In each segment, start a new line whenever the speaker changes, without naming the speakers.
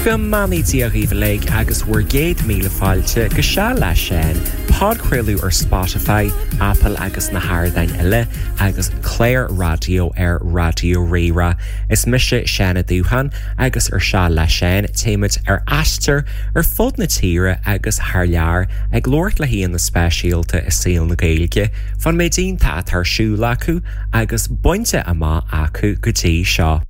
Go mbeannaí Dia dhaoibh uilig agus bhur gcéad míle fáilte go Seal le Seán, podchraoladh ar Spotify, Apple agus na hardáin eile, agus clár raidió ar Raidió Rí-Rá. Is mise Seán Ó Dúcháin agus ar Seal le Seán téimid ar aistear ar fud na tíre agus thar lear ag labhairt le haíonna speisialta i saol na Gaeilge fán méid iontach atá ar siúl acu agus bainte amach acu go dtí seo.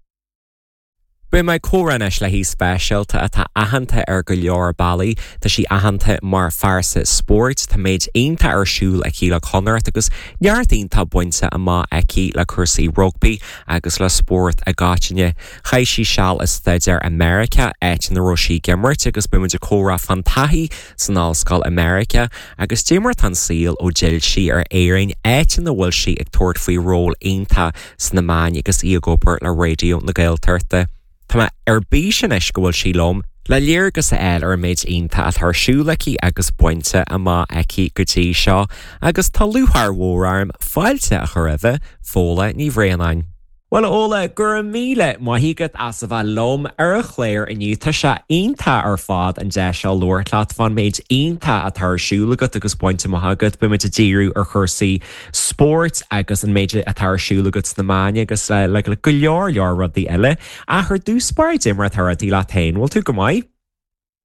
Beidh mé ag comhrá anois le haoi speisialta atá aitheanta ar go leor bealaí. Tá sí aitheanta mar phearsa spóirt, tá méid iontach ar siúl aici le Connacht agus neart iontach bainte amach aici le cúrsaí rugbaí agus le spórt i gcoitinne. Chaith sí seal ag staidéar i Meiriceá, áit ina raibh sí ag imirt agus beidh muid ag comhrá fán taithí san ollscoil i Meiriceá agus cad é mar atá an saol ó d'fhill sí ar Éirinn, áit ina bhfuil sí ag tabhairt faoi ról iontach sna meáin agus í ag obair le Raidió na Gaeltachta. Tá mé ar bís anois go bhfuil sí liom le léargas a fháil ar an méid iontach atá ar siúl aici agus bainte amach aici go dtí seo agus tá lúcháir mhór orm fáilte a chur roimhe, Fódhla Ní Bhraonáin. Bhuel, a Fhódhla, go raibh míle maith agat as a bheith liom ar an chlár inniu. Tá sé iontach ar fad an deis seo labhairt leat fán méid iontach atá ar siúl agat agus bainte amach agat. Beidh muid ag díriú ar chúrsaí spóirt agus an méid atá ar siúl agat sna meáin agus le go leor leor rudaí eile. Ach ar dtús báire, cad é mar atá rudaí leat féin, bhfuil tú go maith?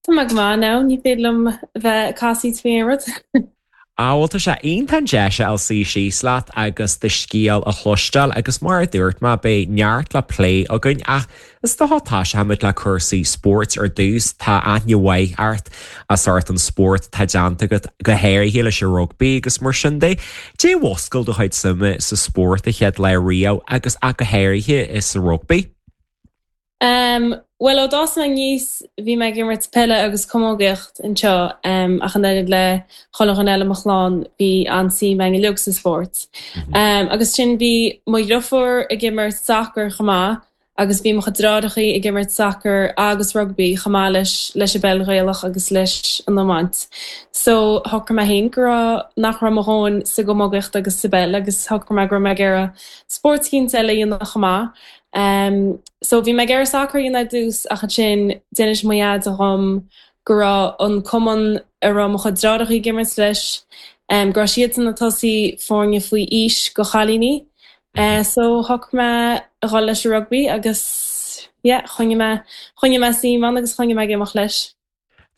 Tá mé go maith now, ní féidir liom bheith ag casaoid faoi aon rud.
Á bhuel tá sé iontach an deis a fháil suí síos leat agus do scéal a chloisteáil agus mar a dúirt mé beidh neart le plé againn ach Is dócha toiseochaimid le cúrsaí spóirt ar dtús. Tá aithne mhaith ort as ucht an spórt atá déanta agat, go háirithe leis an rugbaí agus mar sin de. Cad é a mhúscail do chuid suime sa spórt an chéad lá riamh agus ach go háirithe sa rugbaí?
Bhuel, ó d'fhás mé aníos bhí mé ag imirt peile agus camógaíocht anseo ach an oiread le chuile dhuine eile i mo chlann bhí an-suim againn uilig sa spórt. Agus ansin bhí mo dhriofúr ag imirt sacair chomh maith agus bhí mo chuid deartháireachaí ag imirt sacair agus rugbaí chomh maith leis leis an bpeil Ghaelach agus leis an iomáint. So shocraigh mé féin go raibh, nach raibh mo dhóthain sa gcamógaíocht agus sa bpeil agus shocraigh mé go raibh mé ag iarraidh spórt eicínt eile a dhéanamh chomh maith. Um so bhí mé ag iarraidh sacar a dhéanamh ar dtús ach ansin d'inis mo dhaid dhom go raibh an cumann a raibh mo chuid deartháireachaí ag imirt leis, um go raibh siadsan ag tosú foirne faoi aois go chailíní. So shocraigh mé a dhul leis an rugbaí agus yeah choinnigh mé, choinnigh mé suim ann agus choinnigh mé ag imeacht leis.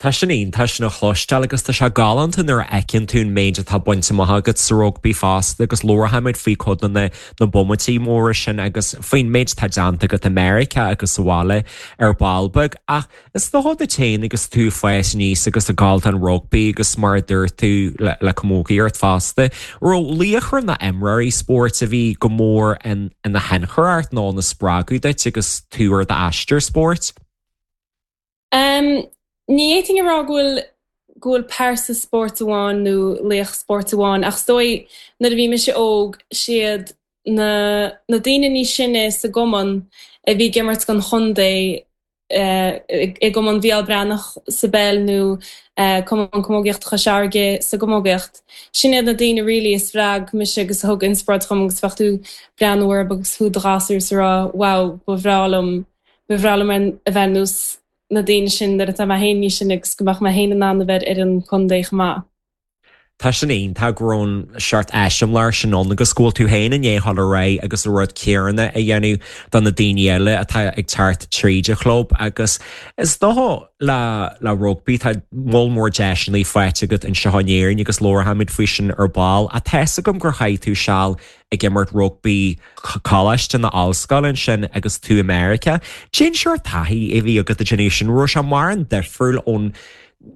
Tá sin iontach sin a chloisteáil agus tá sé galánta nuair a fheiceann tú an méid atá bainte amach agat sa rugbaí fosta agus labharfaimid faoi cuid de na na bomaití móra sin agus faoin méid atá déanta agat i Meiriceá agus sa bhaile ar ball beag ach Is dócha duit féin agus tú ag fás aníos agus ag gabháil don rugbaí agus mar a dúirt tú le camógaíocht fosta, raibh laochra nó imreoirí spóirt a bhí go mór ina thionchar ort nó ina spreagadh duit agus tú ar d'aistear spóirt?
Ní fhéadfainn a rá go bhfuil go bhfuil pearsa spóirt amháin nó laoch spóirt amháin ach is dóigh nuair a bhí mise óg siad na na daoine níos sine sa gcumann a bhí ag imirt don chontae i gCumann Mhícheál Breathnach sa bpeil nó Cumann Camógaíochta Chois Fharraige sa gcamógaíocht. Sin iad na daoine really a spreag mise agus a thug inspioráid dhom agus bheadh tú ag breathnú orthu agus tú i do ghasúr is ag rá wow ba bhreá liom, ba bhreá liom a bheith ar nós na daoine sin nuair atá mé féin níos sine agus go mbeadh mé féin in ann a bheith ar an contae chomh maith.
Tá sin iontach go raibh an seort eiseamláir sin ann agus go bhfuil tú féin i ndiaidh dhul ar aghaidh agus an rud céanna a dhéanamh do na daoine eile atá ag teacht tríd an chlub agus is dócha le le rugbaí tá moll mór deiseanna faighte agat anseo in Éirinn agus labharfaimid faoi sin ar ball ach tá's agam gur chaith tú seal ag imirt rugbaí coláiste nó ollscoile ansin agus tú i Meiriceá. Cén seort taithí a bhí agat ag déanamh sin? Raibh sé mórán difriúil ón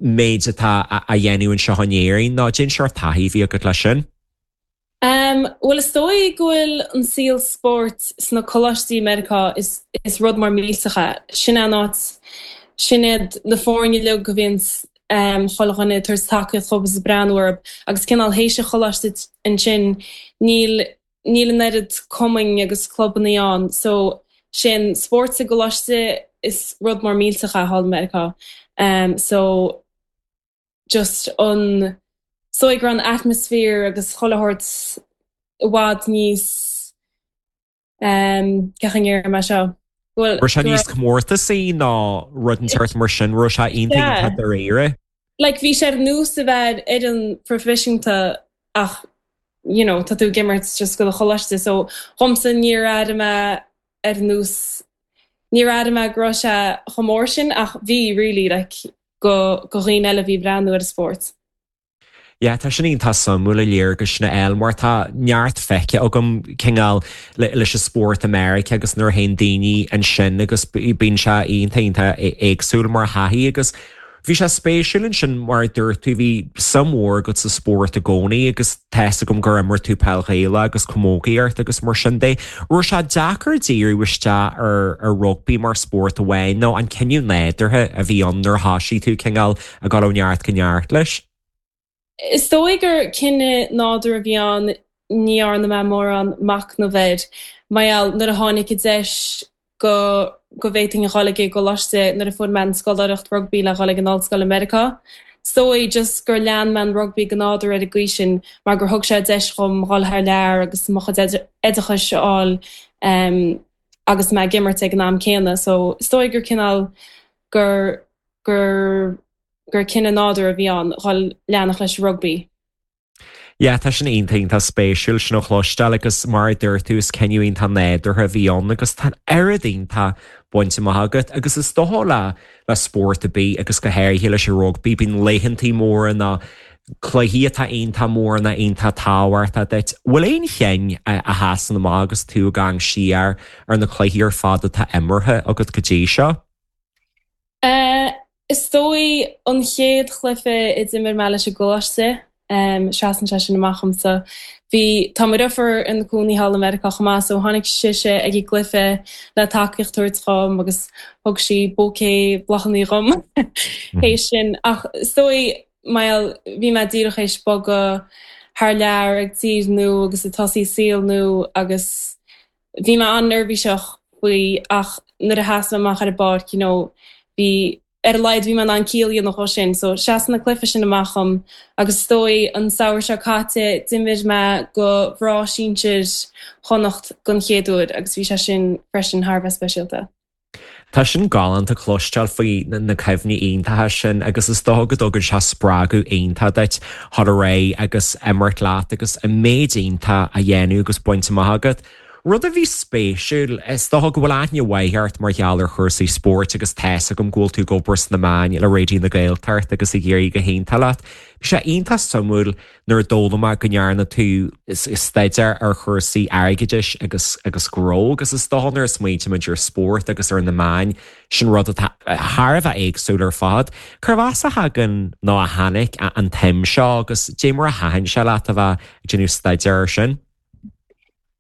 méid atá á dhéanamh anseo in Éirinn nó cén seort taithí a bhí agat leis sin?
Bhuel is dóigh go bhfuil an saol spóirt sna coláistí i Meiriceá, is is rud mór millteach é. Sin é an áit, sin iad na foirne uilig a bhíonn chuile dhuine ag tabhairt tacaíocht dhóibh is ag breathnú orthu agus cineál théis an choláiste ansin níl níl an oiread cumainn agus clubannaí ann so sé an spórt sa gcoláiste is rud mór millteach é thall i Meiriceá so just an is dóigh go raibh an atmosphere agus chuile shórt i bhfad níos cén chaoi a ndéarfaidh mé seo? Bhuel,
Raibh sé níos comórtasaí ná rud inteacht mar sin, raibh sé iontach iontach dáiríre.
Like bhí sé ar nós a bheith ar fhoireann proifisiúnta ach you know tá tú ag imirt just do do choláiste so dhomsa níor airigh mé ar nós níor airigh mé go raibh sé chomh mór sin ach bhí really like go go dhaoine eile a bhí ag breathnú ar an spórt.
Yeah, tá sin iontach suimiúil an léargas sin a fháil mar tá neart feicthe agam cineál leis an spórt i Meiriceá agus nuair a théann daoine ansin agus bíonn sé iontach iontach éagsúil mar thaithí agus bhí sé spéisiúil ansin mar a dúirt tú bhí suim mhór agat sa spórt i gcónaí agus tá fhios agam gur imir tú peil Ghaelach agus camógaíocht agus mar sin de. Raibh sé deacair díriú isteach ar ar rugbaí mar spórt amháin nó an cinneadh nádúrtha a bhí ann nuair a thoisigh tú cineál ag dul ó neart go neart leis.
Is dóigh gur cinneadh nádúrtha a bhí ann, ní dhearna mé mórán machnaimh air, mar gheall nuair a tháinig an deis go go bhféadfainn a dhul ag an gcoláiste nuair a fuair mé an scoláireacht rugbaí le dhul ag an ollscoil i Meiriceá. Is dóigh just gur lean mé an rugbaí go nádúrtha ar an gcaoi sin mar gur thug sé deis dhom dhul thar lear agus mo chuid oideachais a fháil agus mé ag imirt ag an am céanna. So is dóigh gur cineál gur gur gur cinneadh nádúrtha a bhí ann dhul leanacht leis an rugbaí.
Yeah, tá sin iontach iontach spéisiúil sin a chloisteáil agus mar a dúirt tú is cinneadh iontach nádúrtha a bhí ann agus tá an oiread iontach bainte amach agat agus is dócha le le spórt ar bith agus go háirithe leis an rugbaí bíonn laethantaí móra nó cluichí atá iontach mór nó iontach tábhachtach duit. Bhfuil aon chinn a sheasann amach agus tú ag amharc siar ar na cluichí ar fad atá imeartha agat go dtí seo?
Is dóigh an chéad chluiche a d'imir mé leis an gcoláiste, seasann sé sin amach dhomsa. Bhí, tá mo dheirfiúr ina cónaí thall i Meiriceá chomh maith so tháinig sise ag an gcluiche le tacaíocht a thabhairt dhom agus thug sí bouquet bláthanna dhom théis sin. Ach is dóigh, mar gheall, bhí mé díreach théis bogadh thar lear ag tír nua agus ag tosaí saol nua agus Bhí mé an-neirbhíseach faoi ach nuair a sheas mé amach ar an bpáirc, you know, bhí, ar a laghad bhí mé in ann ciall a dhéanamh dhó sin. So seasann an cluiche sin amach dhom agus is dóigh an samhradh seo caite d'imir mé do mhná sinsir Chonnacht don chéad uair agus bhí sé sin freisin thar a bheith speisialta.
Tá sin galánta cloisteáil faoi na cuimhní iontacha sin agus is dócha go dtugann sé spreagadh iontach duit dhul ar aghaidh agus imirt leat agus an méid iontach a dhéanamh agus bainte amach agat. Rud a bhí spéisiúil, is dócha go bhfuil aithne mhaith ort mar gheall ar chúrsaí spóirt agus tá's agam go bhfuil tú ag obair sna meáin le Raidió na Gaeltachta agus ag éirí go hiontach leat. Bhí sé iontach suimiúil nuair a d'fhoghlaim mé go ndearna tú staidéar ar chúrsaí airgeadais agus agus gnó agus is dócha nuair a smaointímid ar spórt agus ar na meáin, sin rud atá thar a bheith éagsúil ar fad. Cérbh as a thagann nó a tháinig an tsuim seo agus dé mar a thaitin sé leat a bheith ag déanamh staidéar air sin?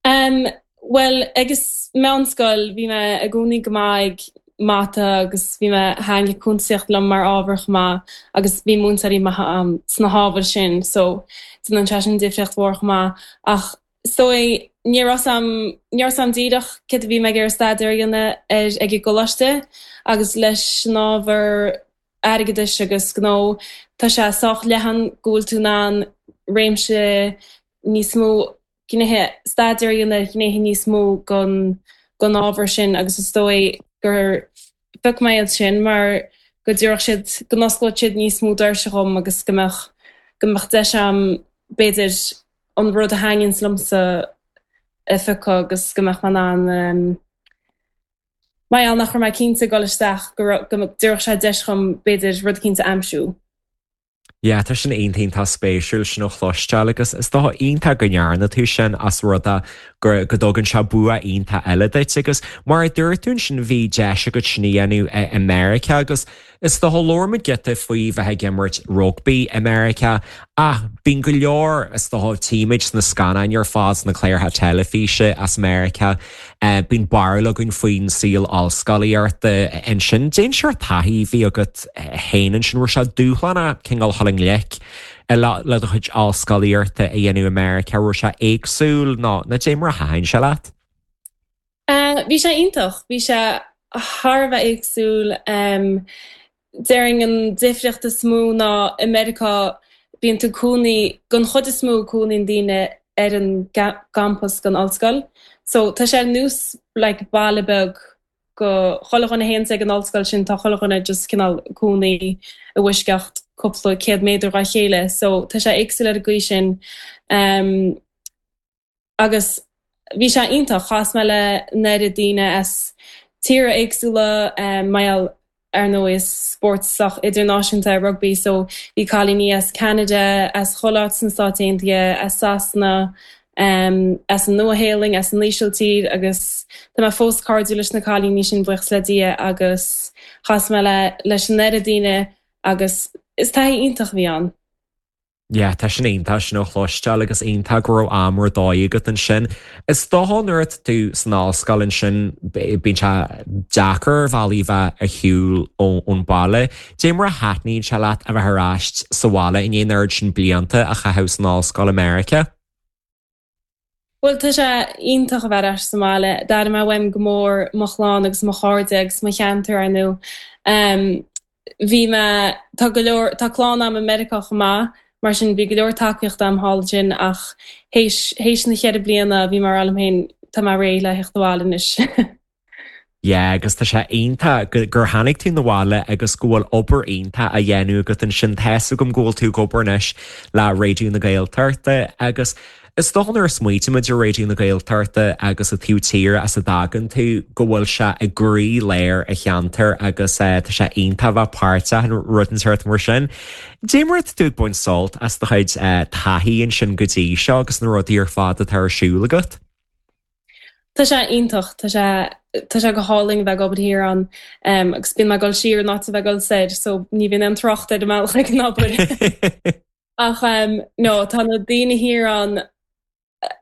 Em, bhuel, ag an meánscoil bhí mé i gcónaí go maith ag mata agus bhí mé, thaitnigh cuntasaíocht liom mar ábhar chomh maith agus bhí múinteoirí maithe a'm sna hábhair sin so déanann sé sin difríocht mhór chomh maith. Ach is dóigh ní raibh 's a'm, ní raibh 's a'm díreach céard a bhí mé ag iarraidh staidéar a dhéanamh air ag an gcoláiste agus leis an ábhar airgeadais agus gnó, tá sé sách leathan go bhfuil tú in ann réimse níos mó gnéithe, staidéar a dhéanamh ar ghnéithe níos mó den ábhar sin agus is dóigh gur phioc mé iad sin mar go dtabharfadh siad, go n-osclódh siad níos mó doirse dhom agus go mbeadh, go mbeadh deis a'm b'fhéidir an rud a thaitníonns liomsa a phiocadh agus go mbeadh mé in ann mar gheall nach raibh mé cinnte ag dul isteach go raibh, go dtabharfadh sé deis dhom b'fhéidir rud eicínt a aimsiú.
Yeah, tá sin iontach iontach spéisiúil sin a chloisteáil agus is dócha iontach go ndearna tú sin as rud é go go dtugann sé bua iontach eile duit agus mar a dúirt tú ansin bhí deis agat sin a dhéanamh i Meiriceá agus is dócha labhair muid giota faoi bheith ag imirt rugbaí i Meiriceá ach bíonn go leor is dócha tchímid sna scannáin ar fad sna cláracha teilifíse as Meiriceá Bíonn barúil againn faoin saol ollscolaíochta ansin. Cén sórt taithí a bhí agat féin ansin? Raibh sé dúshlánach cineál dhul i ngleic le do chuid ollscolaíochta a dhéanamh i Meiriceá? Raibh sé éagsúil nó dé mar a thaitin sé leat?
Bhí sé iontach. Bhí sé thar a bheith éagsúil. Déarfainn an difríocht is mó ná i Meiriceá bíonn tú ag cónaí, den chuid is mó cónaíonn daoine ar an gcampas den ollscoil. So tá sé ar nós like baile beag. go chuile dhuine a théanns ag an ollscoil sin tá chuile dhuine just cineál cónaí i bhfoisceacht cúpla céad méadar dhá chéile so tá sé éagsúil ar an gcaoi sin. Agus bhí sé iontach, chas mé le an oiread daoine as tíortha éagsúla, mar gheall ar ndóigh is spórt sách idirnáisiúnta é rugbaí so bhí cailíní as Ceanada, as chuile áit sna Stáit Aontaithe, as Sasana, as an Nua-Shéalainn, as an Ísiltír agus tá mé fós cairdiúil leis na cailíní sin, buíochas le Dia, agus chas mé le leis an oiread daoine agus is taithí iontach a bhí ann.
Yeah, tá sin iontach sin a chloisteáil agus iontach go raibh am ar dóigh agat ansin. Is dócha nuair atá tú san ollscoil ansin bíonn sé deacair ar bhealaí bheith ar shiúl ón baile. Dé mar a thaitníonn sé leat a bheith ar ais sa bhaile i ndiaidh an oiread sin blianta a chaitheamh san ollscoil i Meiriceá?
Bhuel, tá sé iontach a bheith ar ais sa mbaile. D'airigh mé uaim go mór mo chlann agus mo chairde agus mo cheantar, ar ndóigh. Bhí mé, tá go leor, tá clann a'm i Meiriceá chomh maith, mar sin bhí go leor tacaíochta a'm thall ansin ach théis, théis na cheithre bliana bhí mé ag rá liom féin, tá mé réidh le theacht abhaile anois.
Yeah, agus tá sé iontach gur tháinig tú 'na bhaile agus go bhfuil obair iontach á dhéanamh agat ansin. Tá's agam go bhfuil tú ag obair anois le Raidió na Gaeltachta agus is dócha nuair a smaoitímid ar Raidió na Gaeltachta agus an taobh tíre as a dtagann tú go bhfuil sé i gcroí lár an cheantair agus tá sé iontach a bheith páirteach in rud inteacht mar sin. Dé mar atá tú ag baint sult as do chuid taithí ansin go dtí seo agus na rudaí ar fad atá ar siúl agat?
Tá sé iontach, tá sé, tá sé go hálainn a bheith ag obair thiar ann agus bíonn mé ag dul siar in áit a bheith ag dul soir so ní bhíonn aon trácht ar an mbealach ag an obair. Ach no, tá na daoine thiar ann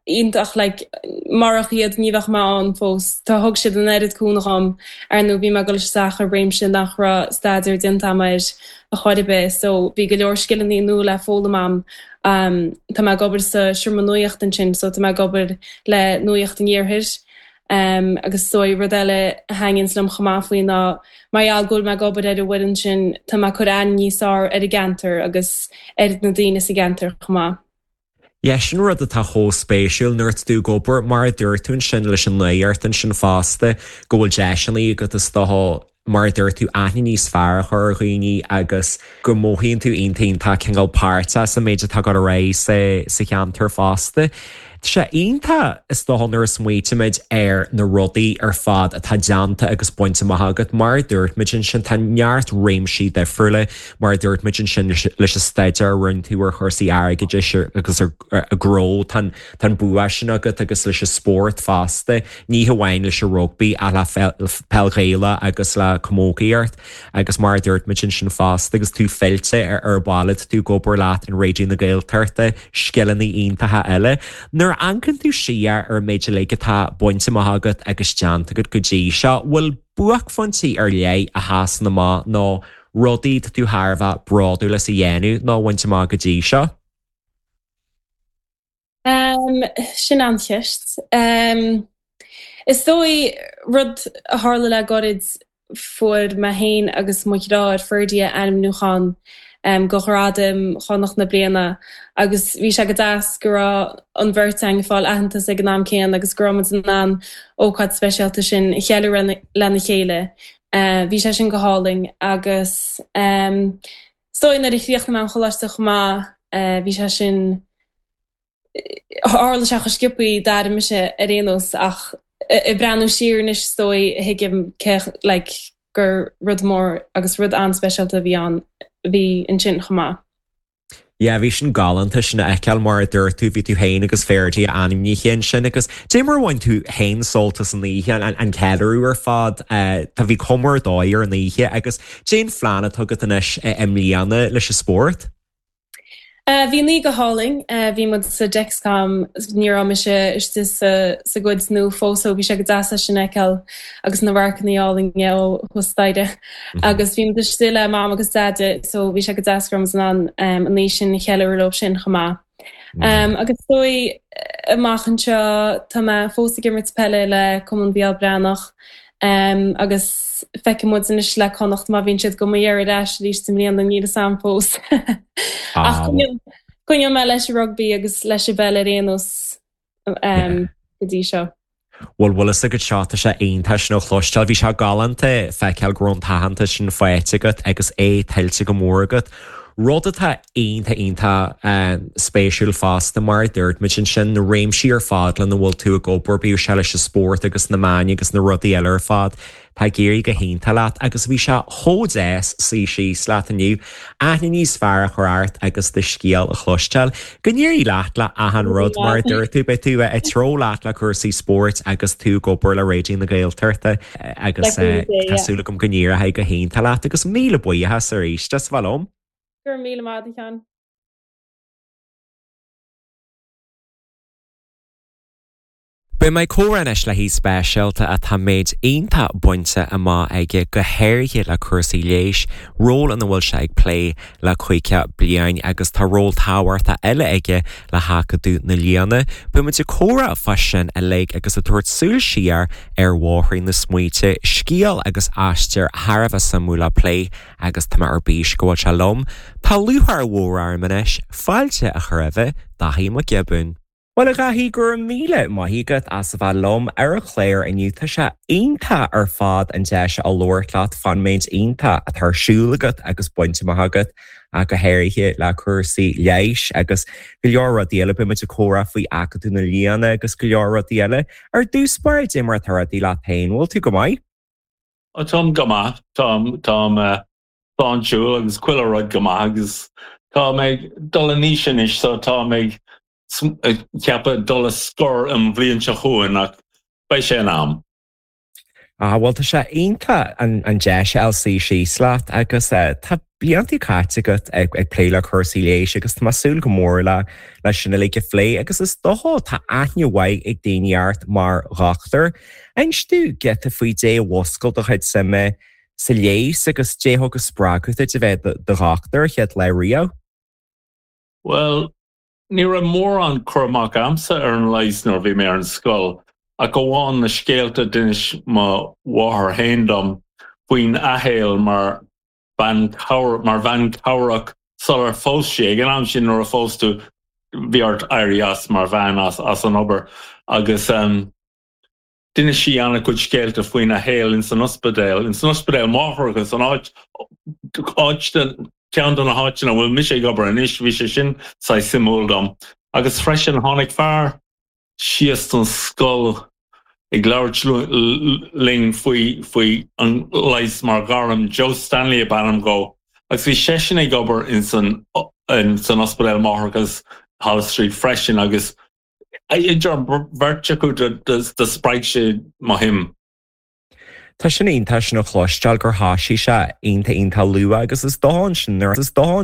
iontach, like marach iad ní bheadh mé ann fós. Tá, thug siad an oiread cúnamh dhom, ar ndóigh bhí mé ag dul isteach i réimse nach raibh staidéar déanta agam air a chor ar bith so bhí go leor scileanna nua le foghlaim agam Tá mé ag obair sa seomra nuachta ansin so tá mé ag obair le Nuacht an Iarthair. Agus is dóigh rud eile a thaitníonns liom chomh maith faoi ná mar gheall go bhfuil mé ag obair ar an bhfoireann sin tá mé ag cur aithne níos fearr ar an gceantar agus ar na daoine sa gceantar chomh maith.
Yeah, sin rud atá chomh spéisiúil nuair atá tú ag obair, mar a dúirt tú ansin leis an nuacht ansin fosta, go bhfuil deiseanna agat is dócha mar a dúirt tú, aithne níos fearr a chur ar dhaoine agus go mothaíonn tú iontach iontach cineál páirteach sa méid atá ag dul ar aghaidh sa sa cheantar fosta. Tá sé iontach is dócha nuair a smaoitímid ar na rudaí ar fad atá déanta agus bainte amach agat. Mar a dúirt muid ansin, tá neart réimsí difriúla, mar a dúirt muid ansin leis an staidéar a rinne tú ar chúrsaí airgeadais agus ar gnó, tá Tá an bua sin agat agus leis an spórt fosta, ní hamháin leis an rugbaí ach le peil Ghaelach agus le camógaíocht agus mar a dúirt muid ansin fosta agus tú fillte ar an bhaile, tá tú ag obair leat in Raidió na Gaeltachta, scileanna iontacha eile. Nuair a amharcann tú siar ar an méid uilig atá bainte amach agat agus déanta agat go dtí seo, bhfuil buaicphointí ar leith a sheasann amach nó rudaí atá tú thar a bheith bródúil as a dhéanamh nó a bhaint amach go dtí seo?
Sin an-cheist. Is dóigh, rud a tharla le gairid, fuair mé féin agus mo dheartháir Ferdia ainmniúchán do Ghradaim Chonnacht na Bliana agus bhí sé go deas go raibh an bheirt againn ag fáil aitheantas ag an am céanna agus go raibh muid in ann ócáid speisialta sin a cheiliúradh lena chéile. Bhí sé sin go hálainn agus Is dóigh nuair a chríochnaigh mé an choláiste chomh maith, bhí sé sin, tharla sé chomh sciobthaí, d'airigh mise ar aon nós ach ag breathnú siar anois is dóigh thuigim cé like gur rud mór agus rud an-speisialta a bhí ann, a bhí ansin chomh maith.
Yeah, bhí sin galánta sin a fheiceáil mar a dúirt tú, bhí tú féin agus Ferdia ainmnithe ansin agus dé mar a bhain tú féin sult as an oíche, an ceiliúradh ar fad, tá bhí cuma ar dóigh ar an oíche agus Cén phlean atá agat anois i mbliana leis an spórt?
Bhí an oíche go hálainn. Bhí muid sa Dexcom, ní raibh mise istigh sa gcuid nua fós so bhí sé go deas é sin a fheiceáil agus na radharcanna álainne ó thuas staighre. Agus bhí muid istigh le Mam agus Deaide so bhí sé go deas go raibh muid in ann an oíche sin a cheiliúradh leo sin chomh maith. Agus is dóigh, amach anseo, tá mé fós ag imirt peile le Cumann Mhícheál Breathnach agus feicfidh muid anois le Connacht má bhíonn siad do mo iarraidh ar ais arís i mbliana, níl fhios a'm fós. Ach coinneoidh mé leis an rugbaí agus leis an bpeil ar aon nós go dtí seo.
Bhuel, bhfuil fhios agat seo, tá sé iontach sin a chloisteáil. Bhí sé galánta feiceáil go raibh an t-aitheantas sin faighte agat agus é tuillte go mór agat. Rud atá iontach iontach spéisiúil fosta, mar a dúirt muid ansin, na réimsí ar fad lena bhfuil tú ag obair, bíodh sé leis an spórt agus na meáin agus na rudaí eile ar fad, Tá ag éirí go hiontach leat agus bhí sé chomh deas suí síos leat inniu, aithne níos fearr a chur ort agus do scéal a chloisteáil. Go n-éirí leat le achan rud, mar a dúirt tú, beidh tú ag treabhadh leat le cúrsaí spóirt agus tú ag obair le Raidió na Gaeltachta agus tá súil agam go n-éireoidh go hiontach leat agus míle buíochas arís as a bheith liom.
Go raibh míle maith agat, a Sheáin.
Beidh mé ag comhrá anois le haoi speisialta atá méid iontach bainte amach aige, go háirithe le cúrsaí leighis, ról ina bhfuil sé ag plé le 50 bliain agus tá ról tábhachtach eile aige le hAcadamh na Lianna. Beidh muid ag comhrá fá sin uilig agus ag tabhairt súil siar ar Bhóithrín na Smaointe, scéal agus aistear thar a bheith suimiúil le plé agus tá mé ar bís go bhfuil sé liom. Tá lúcháir mhór orm anois fáilte a chur roimhe, Dáithí Mac Giobúin. Bhuel, a Dháithí, go raibh míle maith agat as a bheith liom ar an chlár inniu. Tá sé iontach ar fad an deis a labhairt leat fán méid iontach atá ar siúl agat agus bainte amach agat, ach go háirithe le cúrsaí leighis agus go leor rudaí eile. Beidh muid ag comhrá faoi Acadamh na Lianna agus go leor rudaí eile. Ar dtús báire, cad é mar atá rudaí leat féin? Bhfuil tú go maith?
Táim go maith. Táim, táim sláintiúil agus chuile rud go maith agus tá mé ag dul in aois anois so tá mé ag ceapadh dul a scor an bhliain seo chugainn ach beidh sé in am.
Ah bhuel tá sé iontach an deis a fháil suí síos leat agus tá blianta caite agat ag plé le cúrsaí leighis agus tá mé ag súil go mór le leis sin uilig a phlé agus is dócha tá aithne mhaith ag daoine ort mar dhochtúir. Inis domh giota faoi dé a mhúscail do chuid suime sa leigheas agus dé thug an spreagadh duit a bheith i do dhochtúir an chéad lá riamh?
Bhuel, ní raibh mórán cur amach a'msa ar an leigheas nuair a bhí mé ar an scoil, ach amháin na scéalta a d'inis mo mháthair fhéin dom faoin a shaol mar bhean mar bhean cabhrach sular phós sí. Ag an am sin nuair a phós tú bhí ort éirí as mar bhean as as an obair agus D'inis sí an-chuid scéalta faoina shaol ins an ospidéal, ins an ospidéal máithreachais, an áit, áit de, ceann de na háiteanna a bhfuil mise ag obair anois, bhí sé sin saghas suimiúil dom. Agus freisin tháinig fear síos don scoil ag labhairt linn faoi, faoi an leigheas mar ghairm, Joe Stanley ab ainm dhó, agus bhí seisean ag obair ins an, ins an ospidéal máithreachais Holles Street freisin agus Idir an bheirt acu do spreag sé mo shuim.
Tá sin iontach sin a chloisteáil gur thoisigh sé iontach iontach luath agus is dócha ansin nuair is dócha.